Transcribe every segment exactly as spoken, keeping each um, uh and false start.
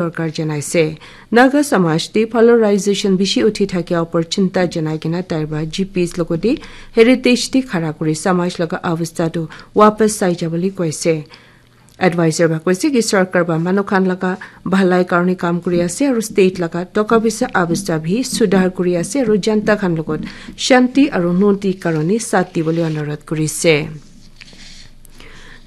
sorkar janaise. Naga samaj te polarization bishi uthi thakia opor chinta janai kena tai para G Ps logote heritage te khara kuri samaj laga avastha tu wapas sai jabole koise. Advisor ba koise ki sorkar ba manu khan laga bhalai karone kam kuri ase aru state laga toka bisa avastha bhi sudhar kuri ase aru janta khan logot shanti aru nunti karone saath dibole anurodh kurise.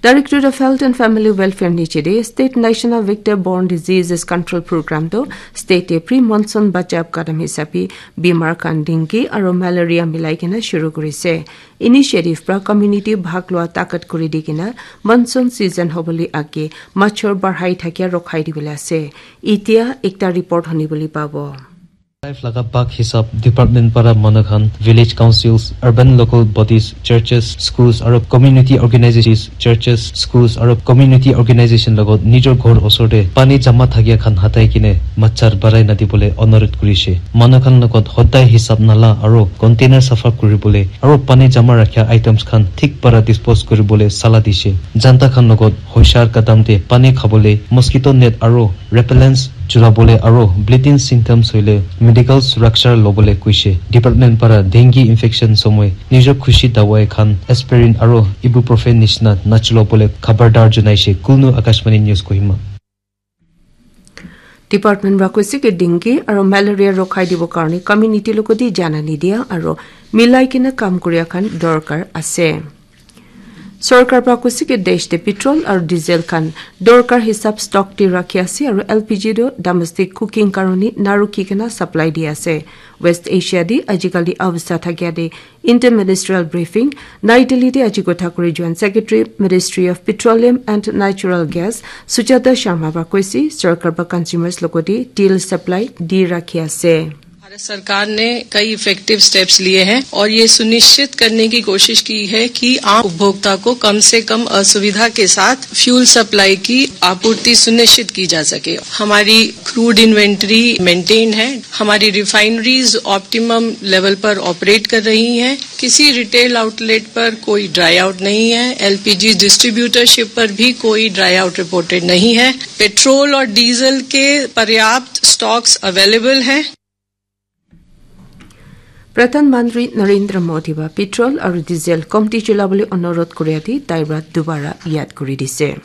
Directorate of Health and Family Welfare niche de State National Vector Borne Diseases Control Program to state te pre-monsoon bachab kadam hisabe bimar khan dengue aru malaria milai kena shuru kurise. Initiative pra community bhag lua takat kuri di kena monsoon season hobole age machor barhai thakia rokhai dibole ase. Itia ekta report honi bole pabo. Life laga bhag hisab department para manu khan village councils, urban local bodies, churches, schools aru community organizations, churches, schools aru community organization logot nijor ghor osor te pani jama thakia khan hatai kine machar barai na dibole anurodh kurise. Manu khan logot hodai hisab nala aru container safa kuribole aru pani jama rakhia items khan thik para dispose kuribole sala dise. Janta khan logot hoshar kadam te pani khabole, mosquito net aru repellents chulabole aru bleeding symptoms hoile medical suraksha lobole koise. Department para dengue infection somoi nijor khushi dawai khan aspirin aru ibuprofen nishina nachulabole khabardar janaise. Kulnu, Akashvani News, Kohima. Department para koise ki dengue aru malaria rokhai dibo karone community logote janani dia aru milai kena kam kuria khan dorkar ase. Sorkar para koise ki desh te petrol aru diesel khan dorkar hisab stock te rakhi ase aru L P G tu domestic cooking karone narukhi kena supply di ase. West Asia te ajikali avastha thakia te interministerial briefing Nai Delhi te aji kotha kuri Joint Secretary, Ministry of Petroleum and Natural Gas, Sujata Sharma para koise sorkar para consumers logote diesel supply di rakhi ase. भारत सरकार ने कई इफेक्टिव स्टेप्स लिए हैं और ये सुनिश्चित करने की कोशिश की है कि आम उपभोक्ता को कम से कम असुविधा के साथ फ्यूल सप्लाई की आपूर्ति सुनिश्चित की जा सके। हमारी क्रूड इन्वेंटरी मेंटेन है, हमारी रिफाइनरीज ऑप्टिमम लेवल पर ऑपरेट कर रही हैं। किसी रिटेल आउटलेट पर कोई ड्राई आउट नहीं है। एलपीजी डिस्ट्रीब्यूटरशिप पर भी कोई ड्राई आउट रिपोर्टेड नहीं है। पेट्रोल और डीजल के पर्याप्त स्टॉक्स अवेलेबल हैं। Pradhan Mantri Narendra Modi ba petrol aru diesel komti chulabole anurodh kuriya te tai para dubara yad kuri dise.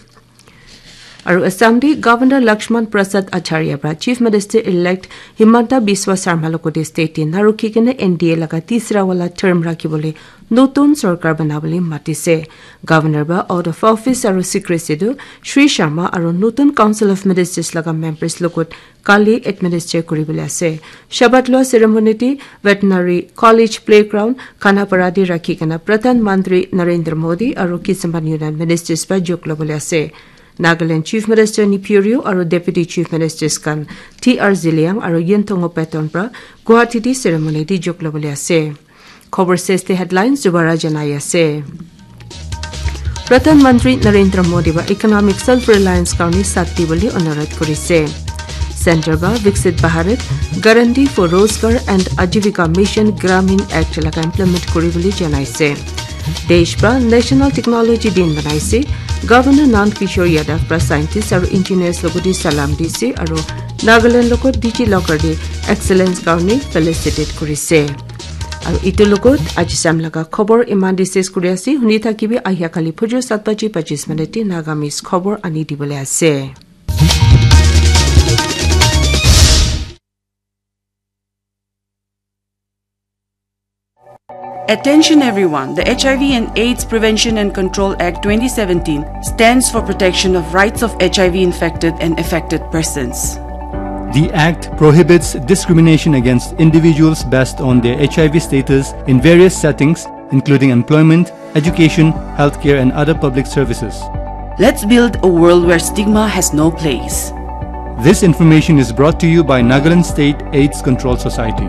Aru Assam te Governor Lakshman Prasad Acharya para Chief Minister elect Himanta Biswa Sarma logote state te narukhi kena N D A laga tisra wala term rakhibole notun sorkar banabole matise. Governor ba out of office aru secrecy tu Shri Sharma aru notun Council of Ministers laga members logot kali administer kuribole ase. Shabat lua ceremony te Veterinary College Playground, Khanapara te rakhi kena Pradhan Mantri Narendra Modi aru Kisaman Union Ministers pa jok lobole ase. Nagaland Chief Minister Neiphiu Rio aru Deputy Chief Ministers khan T R Zeliang aru Yinthongo Patton pra Guwahati te ceremony te jok lobole ase. Khobor ses te headlines dubara janai ase. Pradhan Mantri Narendra Modi ba economic self reliance karone sat dibole anurodh kurise. Center ba Viksit Bharat, Guarantee for Rozgar and Ajivika Mission Gramin Act laga implement kuribole janaise. Desh pra National Technology Din manaise. Governor Nand Kishore Yadav pra scientists aru engineers logote salam dise aru Nagaland logot DigiLocker te excellence karone felicitate kurise. Aru itu logot aji sam laga khobor iman te ses kuri ase. Huni thakibi ahia kali phujur sat baji pachis minute te Nagamese khobor ani dibole ase. Attention everyone, the H I V and AIDS Prevention and Control Act twenty seventeen stands for protection of rights of H I V infected and affected persons. The Act prohibits discrimination against individuals based on their H I V status in various settings, including employment, education, healthcare, and other public services. Let's build a world where stigma has no place. This information is brought to you by Nagaland State AIDS Control Society.